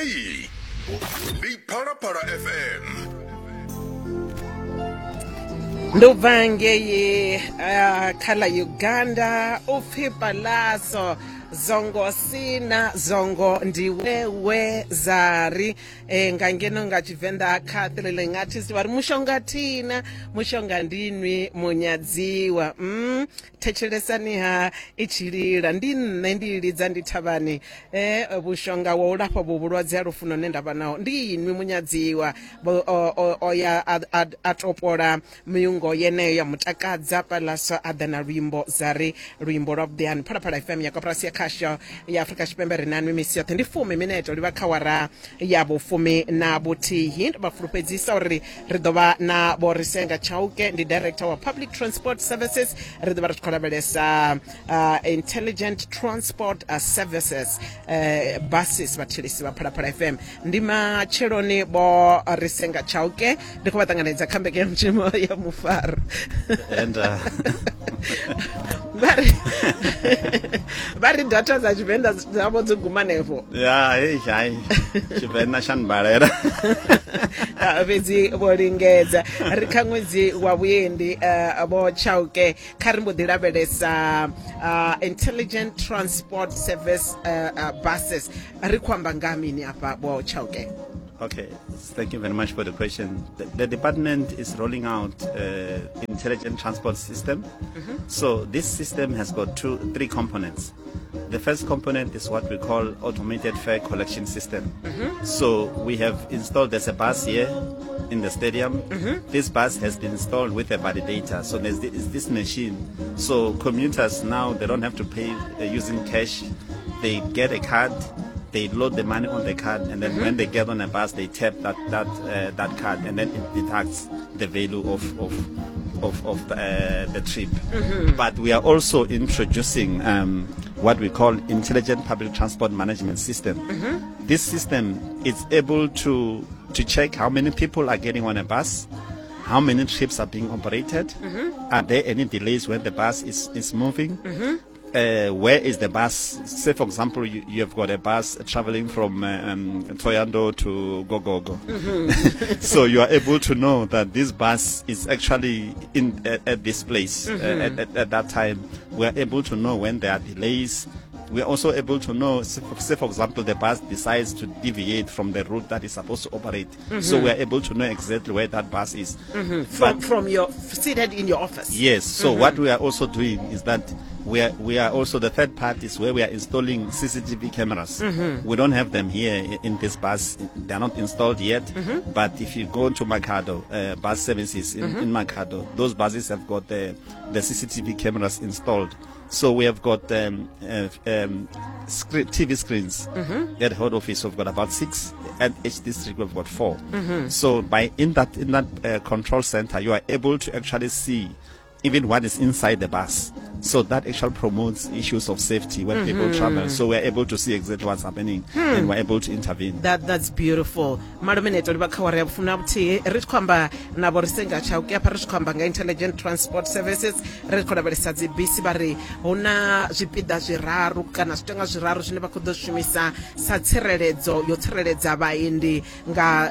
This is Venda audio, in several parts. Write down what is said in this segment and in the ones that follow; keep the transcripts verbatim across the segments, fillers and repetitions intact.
Hey, ndi Phalaphala F M. Ndi u bva ngei uh, kha ḽa Uganda u pfi Palaso zongo sina zongo ndi wewe zari e, nga ngeno nga Tshivenḓa kha thrilling artist vha ri mushonga thina mushonga ndinwi munyadziwa. mm, thetshelesani ha i tshi lila ndi nṋe ndi lidza ndi thavhani e, vhushonga wa u lafha vhu vhulwadze ha lufuno ne nda vha naho ndi inwi munyadziwa. O ya a topola miungo yeneyo ya mutakadza Palaso a ḓa na luimbo zari luimbo lwa vhuḓi hani. Phalaphala F M ya koporasi ya khasho ya Afrika Tshipembe ri na nwi misi yoṱhe ndi fumi minete livha kha wara ya vhufumi na vhuthihi. Ndo vha fulufhedzisa uri ri ḓo vha na Vho Risenga Chauke, ndi director wa Public Transport Services. Ri ḓo vha ri tshi khou lavhelesa uh, Intelligent Transport uh, Services uh, buses vhathilisi vha Phalaphala F M. Ndi matsheloni Vho Risenga Chauke, ndi khou vha ṱanganedza kha mbekanyamushumo ya mufaro. And uh... vha ri vha ri data dza Tshivenḓa dzavho dzo guma hanefho. Ya hei hai Tshivenḓa tsha mbalela. Fhedzi vho lingedza. Ri kha ṅwedzi wa vhuendi uh, Vho Chauke, kha ri mbo ḓi lavhelesa uh, Intelligent Transport Service uh, uh, buses. Ri khou amba nga mini afha Vho Chauke? Okay, thank you very much for the question. The, the department is rolling out uh, intelligent transport system. Mm-hmm. So this system has got two, three components. The first component is what we call automated fare collection system. Mm-hmm. So we have installed, there's a bus here in the stadium. Mm-hmm. This bus has been installed with a validator. So there's this, this machine. So commuters now, they don't have to pay uh, using cash. They get a card. They load the money on the card, and then mm-hmm. when they get on a bus, they tap that that uh, that card, and then it deducts the value of of of, of the, uh, the trip. Mm-hmm. But we are also introducing um, what we call intelligent public transport management system. Mm-hmm. This system is able to to check how many people are getting on a bus, how many trips are being operated, mm-hmm. are there any delays when the bus is is moving. Mm-hmm. Uh, where is the bus? Say, for example, you, you have got a bus traveling from um, Thohoyandou to Gogogo. Mm-hmm. So you are able to know that this bus is actually in at, at this place. Mm-hmm. uh, at, at, at that time. We are able to know when there are delays. We are also able to know, say for, say for example, the bus decides to deviate from the route that is supposed to operate. Mm-hmm. So we are able to know exactly where that bus is. Mm-hmm. From, from your seated in your office. Yes. So mm-hmm. what we are also doing is that we are, we are also the third part is where we are installing C C T V cameras. Mm-hmm. We don't have them here in this bus. They are not installed yet. Mm-hmm. But if you go to Makhado, uh, bus services in, mm-hmm. in Makhado, those buses have got the, the C C T V cameras installed. So we have got um, uh, um, screen, T V screens. Mm-hmm. At head office, we've got about six. At each district, we've got four. Mm-hmm. So by in that in that uh, control center, you are able to actually see even what is inside the bus. So that actually promotes issues of safety when mm-hmm. people travel. So we're able to see exactly what's happening hmm. and we're able to intervene. That That's beautiful. Malumineto livha kha wara ya vhufumi na vhuthihi ri tshi khou amba na Vho Risenga Chauke afha ri tshi khou amba nga Intelligent Transport Services. Ri khou lavhelesa dzi bisi vha ri hu na zwipiḓa zwiraru kana zwitenga zwiraru zwine vha khou ḓo shumisa sa tsireledzo yo tsireledza vhaendi nga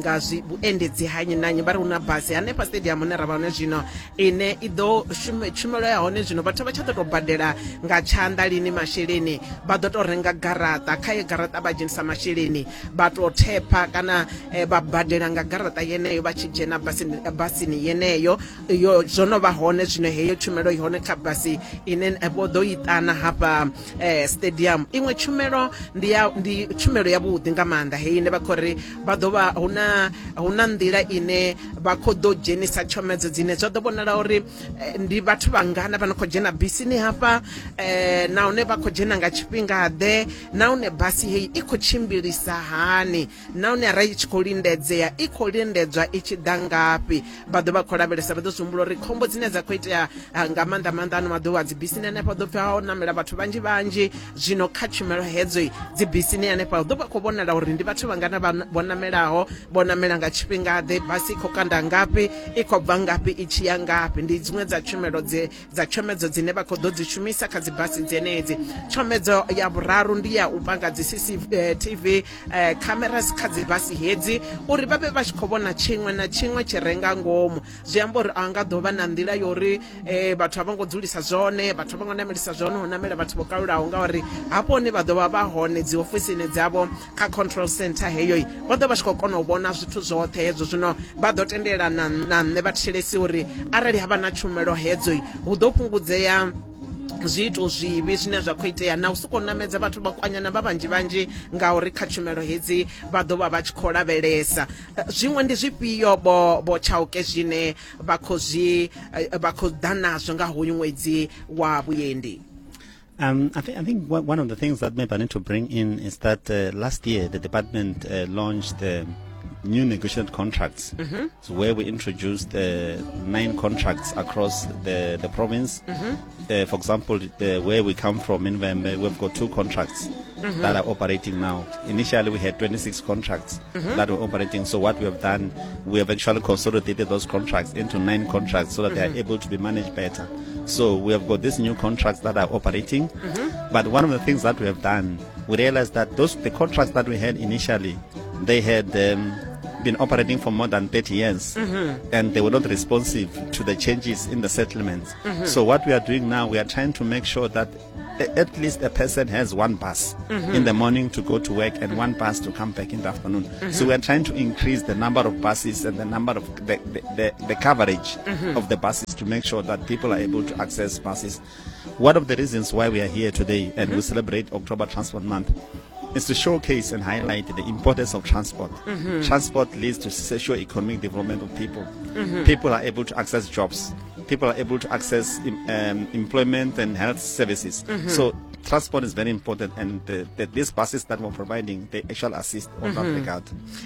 nga vhuendedzi ha nnyi na nnyi. Vha ri hu na basi hanefha stadium hune ra vha hone zwino ine i ḓo tshumelo ya hone zwino vhathu vha tsha ḓo tou badela nga tshanḓa lini masheleni, vha ḓo tou renga garaṱa, kha ye garaṱa vha dzhenisa masheleni vha tou thepha kana eh, vha badela nga garaṱa yeneyo vha tshi dzhena basini, basini yeneyo. Yo zwo no vha hone zwino heyo tshumelo i hone kha basi ine vho ḓo i ṱana hafha eh, stadium. Iṅwe tshumelo ndi ya ndi tshumelo ya vhuḓi nga maanḓa heyi ine vha khou ri vha ḓo vha hu na hu na nḓila ine vha khou ḓo dzhenisa tshomedzo dzine zwa ḓo vhonala uri ndi vhathu vhangana vha no khou dzhena bisini hafha eh, nahone vha khou dzhena nga tshifhingaḓe, nahone basi heyi i khou tshimbilisa hani, nahone arali i tshi khou lindedzea i khou lindedzwa i tshi ḓa ngafhi. Vha ḓo vha khou lavhelesa, vha ḓo zwi humbula uri khombo dzine dza khou itea nga maanḓa maanḓa ano maḓuvha dzi bisini hanefha ḓo pfhi ho namela vhathu vhanzhi vhanzhi. Zwino kha tshumelo hedzo dzi bisini hanefha ḓo vha khou vhonala uri ndi vhathu vhangana vho namelaho, vho namela nga tshifhingaḓe, basi i khou kanda ngafhi, i khou bva ngafhi i tshi ya ngafhi. Ndi dziṅwe dza tshumelo dze dza tshomedzo dzine vha khou ḓo dzi shumisa kha dzi basi dzenedzi. Tshomedzo ya vhuraru ndi ya u panga dzi C C T V cameras kha dzi basi hedzi uri vha vhe vha tshi khou vhona tshiṅwe na tshiṅwe tshi re nga ngomu. Zwi amba uri a nga ḓo vha na nḓila yo uri vhathu a vho ngo dzulisa zwone, vhathu a vho ngo namelisa zwone, ho namela vhathu vho kalulaho, ngauri hafho hone vha ḓo vha vha hone dzi ofisini dzavho kha control center heyo vha ḓo vha tshi khou kona u vhona zwithu zwoṱhe hezwo. Zwino vha ḓo tendela na nṋe vha thetshelesi uri arali ha vha na tshumelo hedzo hu ḓo fhungudzea zwiito zwivhi zwine zwa khou itea na u sokou namedza vhathu vha kwanyana vha vhanzhi vhanzhi, ngauri kha tshumelo hedzi vha ḓo vha vha tshi khou lavhelesa. Zwiṅwe ndi zwifhio bo bo Chauke zwine vha khou zwi vha khou ḓa nazwo nga hoyu ṅwedzi wa vhuendi? Um, I, th I think one of the things that maybe I need to bring in is that uh, last year the department uh, launched uh, new negotiated contracts, mm-hmm. so where we introduced uh, nine contracts across the, the province. Mm-hmm. uh, for example, the, where we come from in Vhembe, we've got two contracts mm-hmm. that are operating now. Initially, we had twenty-six contracts mm-hmm. that were operating. So what we have done, we have actually consolidated those contracts into nine contracts so that mm-hmm. they are able to be managed better. So we have got these new contracts that are operating. Mm-hmm. But one of the things that we have done, we realized that those the contracts that we had initially, they had um, been operating for more than thirty years, mm-hmm. and they were not responsive to the changes in the settlements. Mm-hmm. So what we are doing now, we are trying to make sure that at least a person has one bus mm-hmm. in the morning to go to work and one bus to come back in the afternoon. Mm-hmm. So we are trying to increase the number of buses and the number of the, the, the, the coverage mm-hmm. of the buses to make sure that people are able to access buses. One of the reasons why we are here today and mm-hmm. we celebrate October Transport Month is to showcase and highlight the importance of transport. Mm-hmm. Transport leads to socio-economic development of people. Mm-hmm. People are able to access jobs. People are able to access um, employment and health services. Mm-hmm. So transport is very important, and the, the, these buses that we're providing, they actually assist on mm-hmm. that regard.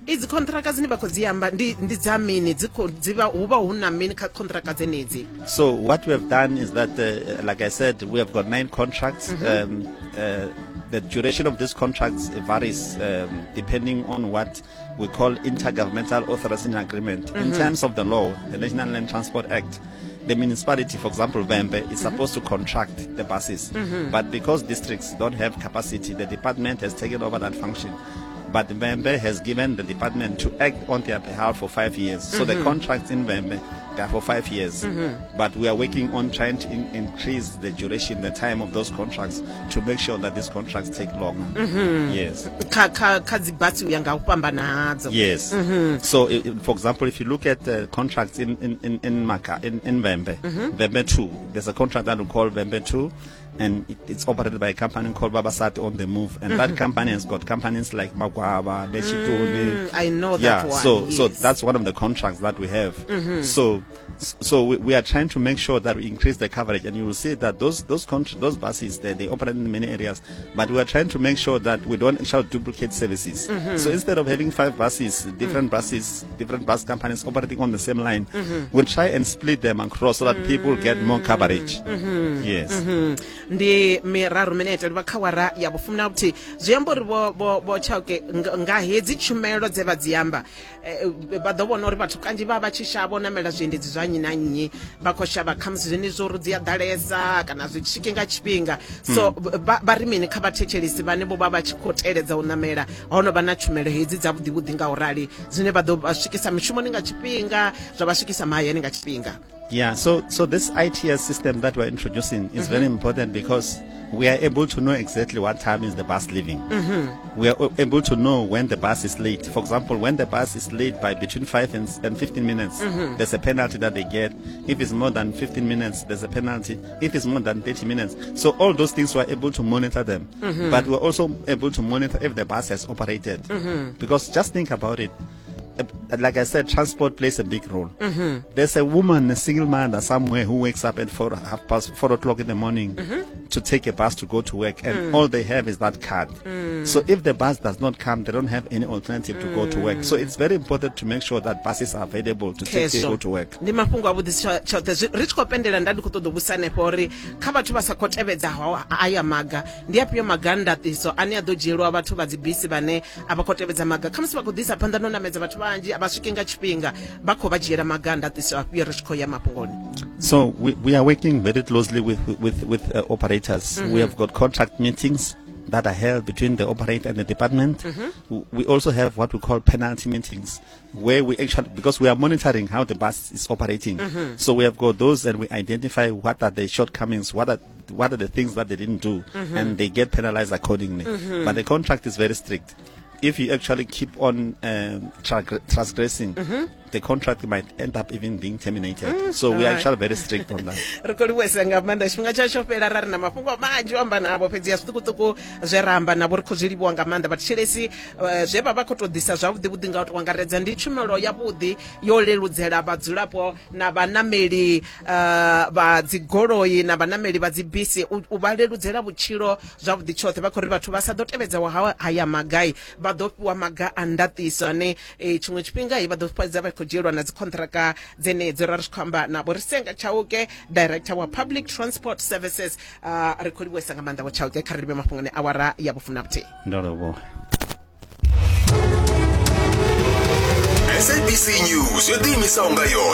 Idzi contract dzine vha khou dzi amba ndi ndi dza mini? Dzi khou dzi vha hu vha hu na mini kha contract dzenedzi? So what we have done is that, uh, like I said, we have got nine contracts. Mm-hmm. um, uh, the duration of these contracts varies um, depending on what we call intergovernmental authorization agreement. Mm-hmm. In terms of the law, the National Land Transport Act, the municipality, for example, Vhembe, is mm-hmm. supposed to contract the buses. Mm-hmm. But because districts don't have capacity, the department has taken over that function. But Vhembe has given the department to act on their behalf for five years. So mm-hmm. the contracts in Vhembe, they are for five years. Mm-hmm. But we are working on trying to in increase the duration, the time of those contracts to make sure that these contracts take longer. Mm-hmm. Yes. Yes. Mm-hmm. So, if, for example, if you look at uh, contracts in, in, in, in Maka, in, in Vhembe, mm-hmm. Vhembe two, there's a contract that we call Vhembe two. And it, it's operated by a company called Babasati on the Move, and mm-hmm. that company has got companies like Magwaba, Lechitoni. Mm, I know that yeah, one. So, yes. so that's one of the contracts that we have. Mm-hmm. So, so we, we are trying to make sure that we increase the coverage, and you will see that those those those buses they, they operate in many areas, but we are trying to make sure that we don't actually duplicate services. Mm-hmm. So instead of having five buses, different mm-hmm. buses, different bus companies operating on the same line, mm-hmm. we'll try and split them across so that mm-hmm. people get more coverage. Mm-hmm. Yes. Mm-hmm. Ndi miraru minete vha kha wara ya vhufumi na vhuthihi. Zwi amba uri vho vho vho Chauke nga hedzi tshumelo dze vha dzi amba vha ḓo vhona uri vhathu kanzhi vha vha tshi shavha u namela zwiendedzi zwa nnyi na nnyi, vha khou shavha khamusi zwenezwo uri dzi a ḓalesa kana zwi swike nga tshifhinga. So vha ri mini kha vhathetshelesi vhane vho vha vha tshi khou teledza u namela ho no vha na tshumelo hedzi dza vhuḓi vhuḓi nga u rali dzine vha ḓo vha swikisa mishumoni nga tshifhinga, zwa vha swikisa mahayani nga tshifhinga? Yeah, so so this I T S system that we're introducing is mm-hmm. very important because we are able to know exactly what time is the bus leaving. Mm-hmm. We are able to know when the bus is late. For example, when the bus is late by between five and, and fifteen minutes, mm-hmm. there's a penalty that they get. If it's more than fifteen minutes, there's a penalty. If it's more than thirty minutes. So all those things we're able to monitor them. Mm-hmm. But we're also able to monitor if the bus has operated. Mm-hmm. Because just think about it. Like I said, transport plays a big role. Mm-hmm. There's a woman, a single mother somewhere who wakes up at four, half past four o'clock in the morning mm-hmm. to take a bus to go to work, and mm. all they have is that card. Mm. So if the bus does not come, they don't have any alternative mm. to go to work. So it's very important to make sure that buses are available to take people to work. Ndi mafhungo a vhuḓi tshoṱhe. Ri tshi khou pendela nda ndi khou ṱoḓa u vhusa hanefho uri kha vhathu vha sa khou tevhedzaho aya maga, ndi afhio maga ndaṱiso ane a ḓo dzhielwa vhathu vha dzibisi vhane a vha khou tevhedza maga, khamusi vha khou ḓisa phanḓa no namedza vhathu vhanzhi a vha swiki nga tshifhinga, vha khou vha dzhiela maga ndaṱiso afhio ri tshi khou ya mafhungoni? So we, we are working very closely with with with uh, operators. Mm-hmm. We have got contract meetings that are held between the operator and the department. Mm-hmm. We also have what we call penalty meetings, where we actually, because we are monitoring how the bus is operating. Mm-hmm. So we have got those, and we identify what are the shortcomings, what are what are the things that they didn't do, mm-hmm. and they get penalized accordingly. Mm-hmm. But the contract is very strict. If you actually keep on um, transgressing, mm-hmm. the contract might end up even being terminated. Mm, so we are actually very strict on that. Ri khou livhuwesa nga maanḓa, tshifhinga tshashu fhela ra ri na mafhungo manzhi o amba navho, fhedzi ya zwiṱukuṱuku zwe ra amba navho ri khou zwi livhuwa nga maanḓa. Vhathetshelesi, zwe vha vha khou tou ḓisa zwavhuḓi vhuḓi nga u tou angaredza ndi tshumelo yavhuḓi yo leludzela vhadzulapo na vhanameli uh, vha dzigoloi na vhanameli vha dzibisi, u vha leludzela vhutshilo zwavhuḓi tshoṱhe. Vha khou ri vhathu vha sa ḓo tevhedza haya magai vha ḓo fhiwa maga a ndaṱiso ane tshiṅwe tshifhinga vha ḓo fhedza vha khou dzhielwa na dzikhontraka dzenedzo. Ra ri tshi khou amba na Vho Risenga Chauke, Director wa Public Transport Services. uh, ri khou livhuwesa nga maanḓa Vho Chauke, kha ri livhe mafhungoni awara ya vhufumi na vhuthihi. Ndo livhuwa. S A B C News yo ḓiimisaho nga yoṱhe.